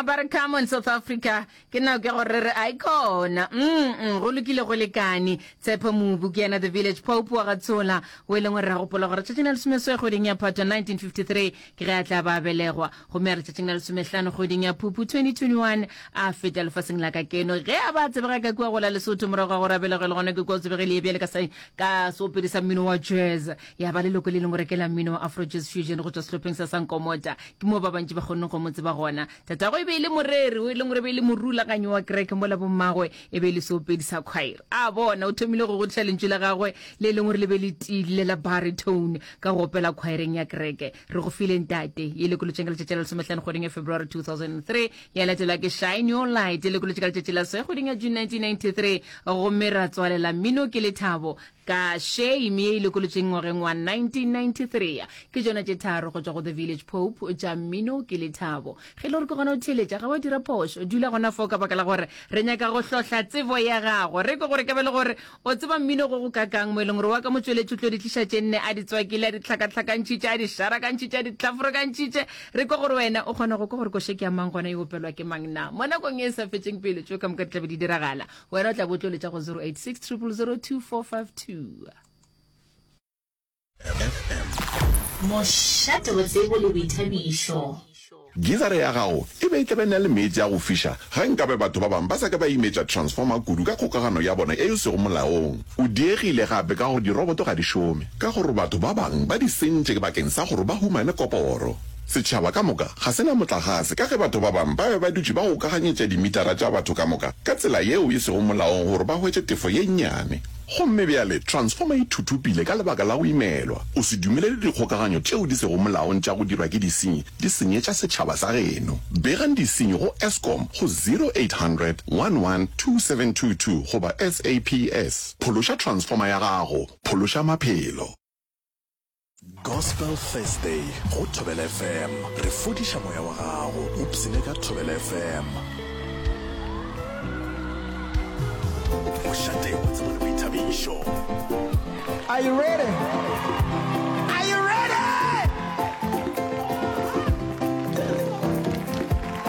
Mama ba re come on South Africa ke nako ya gore re re aikona mm go lokile go lekane Tshepo Mobu ke yena the village pope wa ga Tshola o e leng gore re gopola gore tšatšing la lesomeswe kgweding ya Phatwa 1953 ke ge a tla ba belegwa gomme a re tšatšing la lesomehlano kgweding ya Phupu 2021 a feta lefaseng la ka keno ge a ba tsebega ka kua go la Lesotho morago ga gore a belegwe le gona ke kua o tsebegile bjale ka ka seopedi sa mmino wa jazz ya ba leloko le lengwe rekela mmino wa Afro Jazz Fusion go tšwa sehlopheng sa Sankomota. Ke moo ba bantši ba kgonneng go mo tseba gona. Tatagwe e be e le moreri, o e leng gore e be e le morulaganyi wa kereke, mola bommagwe e be e le seopedi sa khwaere. A bona, o thomile go godiša lentšu la gagwe le e leng gore le be le tiile la baritone ka go opela khwaereng ya kereke. Re go file ntate, ye lekolotšeng ka letšatši la lesomehlano kgweding ya February 2003, ya latelwa ke Shine Your Light, ye lekolotše ka letšatši la se kgweding ya June 1993, gomme ra tswalela mmino ke lethabo Ka shame ye e lokolotšweng ngwageng wa 1993. Ke tšona tše tharo go tšwa go The Village Pope tša mmino ke lethabo. Ge e le gore ke gona o theeletša, ga wa dira phošo. Dula gona fao ka baka la gore re nyaka go hlohla tsebo ya gago. Re kwe gore ka be le gore o tseba mmino go go kakang mo e leng gore wa ka motšweletši o tlo di tliša tše nne a di tswakile, a di hlakahlakantšhitše, a di šarakantšhitše, a di hlafurukantšhitše. Re kwe gore wena o kgona go kwa gore koša ke ya mang gona e opelwa ke mang na. Mo nakong ye e sa fetšeng pelo tšeo ka moka di tla be di diragala. Wena o tla bo tlo letša go 086 000 2452. FM. Mošate wa tsebo le boithabišo. Gizara ya gago e be e tla be na le meetse a go fiša ge nkabe batho ba bangwe ba sa ka ba imetša transformer kudu ka kgokagano ya bona ye e sego molaong. O diegile gape ka gore diroboto ga di šome ka gore batho ba bangwe ba di sentše bakeng sa gore ba humane koporo. Setšhaba ka moka ga se na motlagase ka ge batho ba bangwe ba be ba dutše ba gokaganyetša dimitara tša batho ka moka ka tsela yeo e sego molaong gore ba hwetše tefo ye nnyane. Gomme bjale transformer e thuthupile ka lebaka la go imelwa. O se dumelele dikgokaganyo tšeo di sego molaong tša go dirwa ke disenyi di senyetša setšhaba sa geno. Begang disenyi go Eskom go 0800 11 2722 goba SAPS. Phološa transformer ya gago, phološa maphelo. Gospel Thursday go Thobela FM. Re fodiša moya wa gago. Ipsene ka Thobela FM. Mošate wa tsebo le boithabišo. Are you ready?